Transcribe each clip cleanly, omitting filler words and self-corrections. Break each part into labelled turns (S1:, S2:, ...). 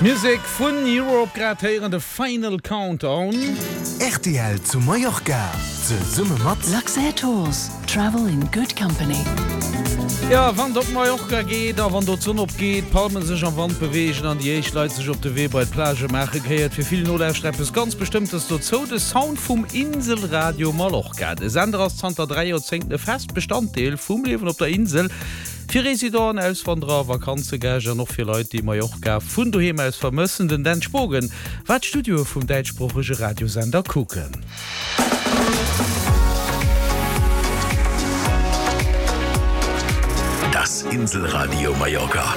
S1: Musek vun Europe, grad héieren de Final Countdown.
S2: Rtl zu Mallorca zesumme mat.
S3: Luxair Tours, travel in good company.
S1: Jo, wann et op Mallorca geet a wann do d'Sonn opgeet, d'Palmen sech am Wand beweegen an déi éischt Leit sech op de Wee bei d'Plage maachen, gehéiert fir vill Nolauschterer eppes ganz Bestëmmtes dozou, de Sound vum Inselradio Mallorca. De Sender ass zanter 3 Joerzéngten e fest Bestanddeel vum Liewen op der Insel. Fir Residenten, Auswanderer, Vakanzegäscht an och fir Leit, déi Mallorca vun doheem aus vermëssen. Den Dan Spogen war d'Studioe vum däitschsproochege Radiosender kucken.
S2: Das Inselradio Mallorca.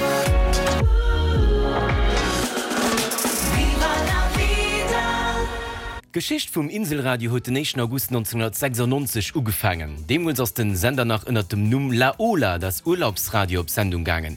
S4: D'Geschicht vum Inselradio huet den éischten August 1996 ugefaangen. Deemools ass den Sender nach ënnert dem Numm La Ola, das Urlaubsradio op Sendung gaangen.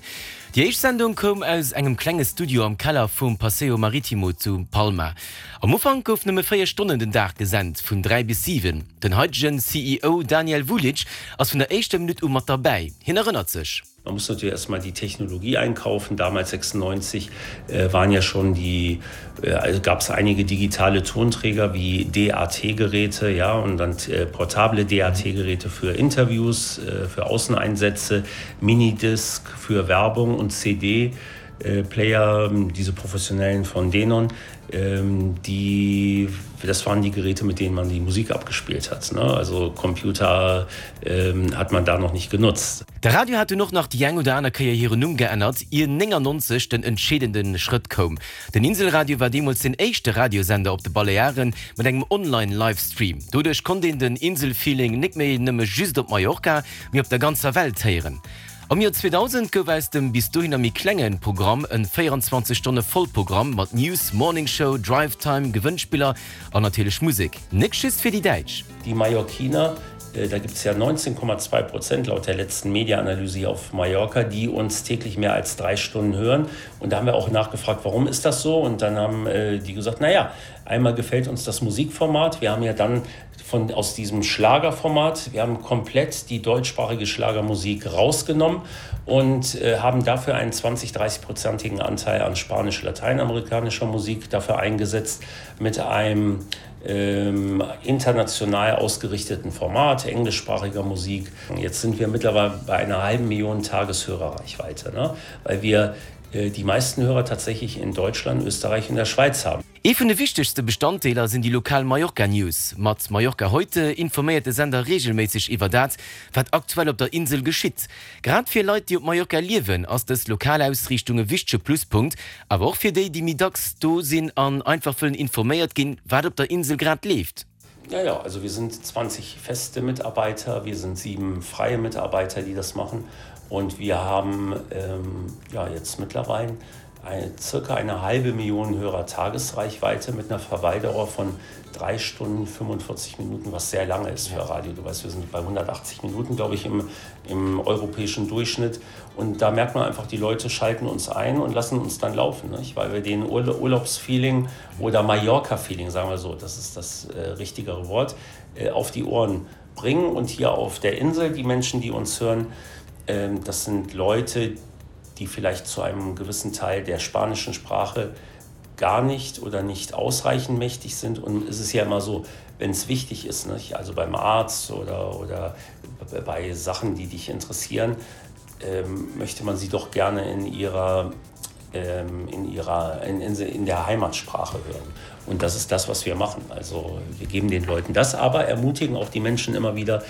S4: Déi éischt Sendung koum aus engem klenge Studio am Keller vum Paseo Maritimo zu Palma. Am Ufank gouf nëmme 4 Stonnen den Dag gesent, vun 3 bis 7. Den haitegen CEO Daniel Vulic ass vun der éischter Minutt u mat derbäi. Hien erënnert sech.
S5: Man muss natürlich erstmal die Technologie einkaufen. Damals 96 äh, waren ja schon die äh, also gab es einige digitale Tonträger wie DAT-Geräte ja und dann äh, portable DAT-Geräte für Interviews, äh, für Außeneinsätze, Minidisc für Werbung und CD. Äh, Player, diese professionellen von Denon, ähm, die das waren die Geräte, mit denen man die Musik abgespielt hat. Ne? Also Computer ähm, hat man da noch nicht genutzt.
S4: De Radio hat dunn och nach déi eng oder aner Kéier hiren Numm geännert, ier 99 den entscheedende Schrëtt koum. Den Inselradio war deemools den éischte Radiosender op de Balearen mat engem Online-Livestream. Doduerch konnt een den Inselfeeling nik méi nëmme just op Mallorca, mee op der ganzer Welt héieren. Am Joer 2000 gouf aus dem bis dohinner méi klenge Programm en 24 Stonne Vollprogramm mat News, Morning Show, Drive Time, Gewënnspiller an natierlech Musek, nek just fir déi Däitsch.
S5: Die Mallorquiner, da gibt es ja 19,2 Prozent laut der letzten Mediaanalyse hier auf Mallorca, die uns täglich mehr als drei Stunden hören. Und da haben wir auch nachgefragt, warum ist das so? Und dann haben die gesagt, naja, einmal gefällt uns das Musikformat. Wir haben ja dann von, aus diesem Schlagerformat. Wir haben komplett die deutschsprachige Schlagermusik rausgenommen und äh, haben dafür einen 20 30-prozentigen Anteil an spanisch-lateinamerikanischer Musik dafür eingesetzt mit einem ähm, international ausgerichteten Format englischsprachiger Musik. Jetzt sind wir mittlerweile bei einer halben Million Tageshörerreichweite, ne? weil wir äh, die meisten Hörer tatsächlich in Deutschland, Österreich und der Schweiz haben.
S4: Ee vun de wichtegste Bestanddeeler sinn déi lokal Mallorca News. Mat Mallorca Heute informéiert de Sender reegelméisseg iwwer dat, wat aktuell op der Insel geschitt. Grad fir Leit, déi op Mallorca liewen, ass dës lokal Ausriichtung e wichtege Pluspunkt, awer och fir déi, déi méi dacks do sinn an einfach wëllen informéiert ginn, wat op der Insel grad leeft.
S5: Ja, ja, also wir sind 20 feste Mitarbeiter, wir sind sieben freie Mitarbeiter, die das machen und wir haben ähm, ja, jetzt mittlerweile eine, circa eine halbe Million Hörer Tagesreichweite mit einer Verweildauer von drei Stunden 45 Minuten, was sehr lange ist für Radio. Du weißt, wir sind bei 180 Minuten, glaube ich, im, im europäischen Durchschnitt. Und da merkt man einfach, die Leute schalten uns ein und lassen uns dann laufen, nicht? weil wir den Urla Urlaubsfeeling oder Mallorca-Feeling, sagen wir so, das ist das äh, richtigere Wort, äh, auf die Ohren bringen. Und hier auf der Insel, die Menschen, die uns hören, äh, das sind Leute, die vielleicht zu einem gewissen Teil der spanischen Sprache gar nicht oder nicht ausreichend mächtig sind. Und es ist ja immer so, wenn es wichtig ist, nicht? also beim Arzt oder, oder bei Sachen, die dich interessieren, ähm, möchte man sie doch gerne in ihrer, ähm, in ihrer in, in, in der Heimatsprache hören. Und das ist das, was wir machen. Also wir geben den Leuten das, aber ermutigen auch die Menschen immer wieder,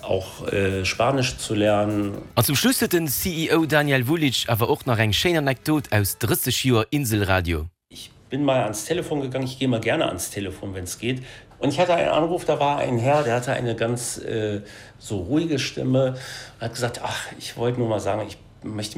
S5: auch äh, Spanisch zu lernen.
S4: An zum Schluss huet den CEO Daniel Vulic awer och nach eng schéin Anekdot aus 30 Joer Inselradio.
S5: Ich bin mal ans Telefon gegangen, ich gehe mal gerne ans Telefon, wenn es geht. Und ich hatte einen Anruf, da war ein Herr, der hatte eine ganz äh, so ruhige Stimme, hat gesagt: „Ach, ich wollte nur mal sagen, ich möchte.